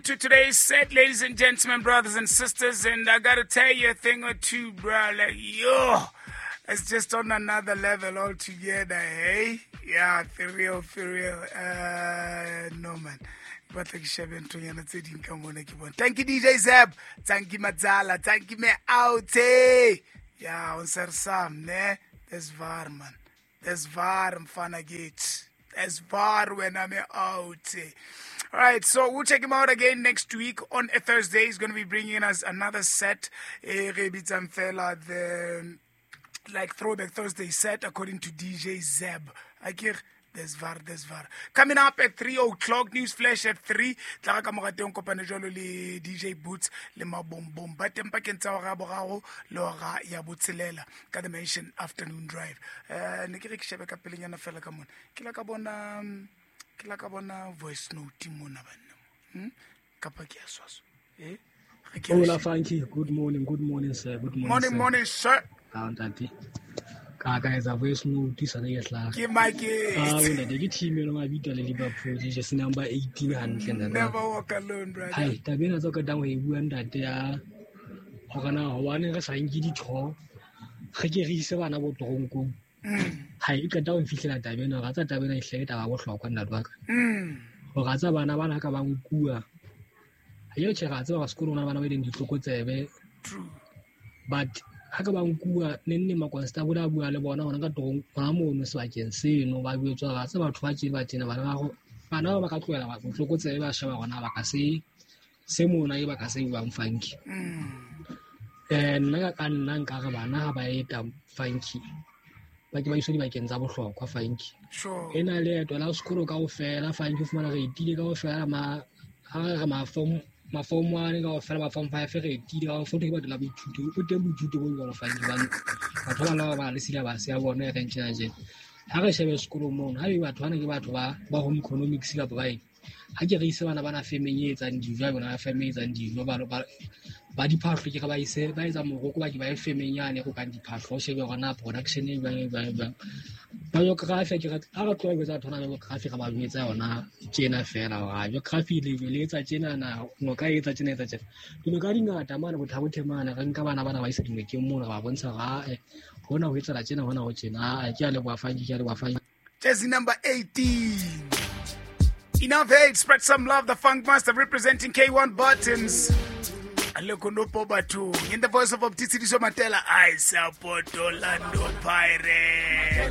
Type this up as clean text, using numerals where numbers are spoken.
To today's set, ladies and gentlemen, brothers and sisters, and I gotta tell you a thing or two, bro. Like, yo, it's just on another level altogether, hey? Yeah, for real, for real. No, man. Batla ke shebe nthonyana tse ding ka mona ke bone. Thank you, DJ Zeb. Thank you, Matsala. Thank you, me out. Yeah, on Sam, ne? Dis waar, man. Dis waar, mfana kithi. Dis waar when I'm out. All right, so we'll check him out again next week on a Thursday. He's going to be bringing us another set. Re bitsang fela the like Throwback Thursday set according to DJ Zeb. Akere dis waar, dis waar. Coming up at 3 o'clock, News Flash at 3. Tla ka mora teng kopane jwalo le DJ Boots le Mabombom. Ba teng pakeng tsa hora ya boraro le hora ya botshelela ka The Mansion Afternoon Drive. Ne ke re ke shebe ka pelenyana fela ka mona. Ke la ka bona, ke la ka bona voice note mona banna. Kapa ke a swaswa. Eh? Re ke Hola, Funky. Good morning, sir. Good morning, Morning, sir. Morning, sir. Ah, ntate. Ka ka etsa voice note sa le ke hlaha. Ke Mike. Ah, ntate, ke team eno mabitso le Liverpool, jersey number 18 hantle ntate. Never walk alone, brother. Hai, taba ena tse o qetang ho e bua ntate ya hore na hobaneng re sa nke ditho, re ke re ise bana bo toronkong. Hai, e qeta ho nfihlela taba ena, ra tsa taba ena e hle ke taba ya bohlokwa ntate wa ka. Hore a tsa bana bana ka ba nkuwa. Ha ke tjhe, ra tseba hore sekolong hona le bana ba ileng ditlokotsebe. True. But ha ka ba nkuwa, neng neng makonstable a bua le bona hona ka torong, hona mono sebakeng seno, ba jwetswa hore ha se batho ba tje ba tjena, bana ba ho, bana ba ba ka tlohela botlokotsebe ba sheba hore na ba ka se, se mona e ba ka se buang Funky. Nna ka nna nka re bana ha ba eta Funky, ba ke ba iswe dibakeng tsa bohlokwa Funky. Sure. E na leeto la sekolo kaofela Funky, o fumana re etile kaofela ma, ha re re ma form, ma form 1 kaofela, ma form 5 re etile kaofela, ke batho la boithuto, o teng boithuto bo jwalo Funky, hobane batho ba bang ba ba le syllabus ya bona e reng tjena tjena. Ha re shebe sekolong mono, ha ebe batho bana ke batho ba home economics kapa ba eng, ha ke re ise bana bana femeng e etsang dijo, ha bona feme e etsang dijo, ba diphahlo ke re ba ise, ba etsa moroko, ba ke ba ye femeng yane e rokang diphahlo, o shebe hore na production e jwang, e jwang, e jwang. Ba geography, ke re, ha re tloha ho etsa batho bana ba geography, re ba jwetsa yona tjena fela, hore ha geography le etsa tjena na, noka e etsa tjena, etsa tjena. Dinoka di ngata mane, Botha-Bothe mane, re nka bana bana ba isa dinokeng mono, re ba bontsha hore, ah, hona ho etsahala tjena, hona ho tjena. Ah, ke a leboha Funky, ke a leboha Funky. Jersey number 18. Enough hate, spread some love. The Funk Master representing K1 Buttons. Alekonopo Batu. In the voice of Optisidiso Matela, I support Orlando Pirates. Yeah.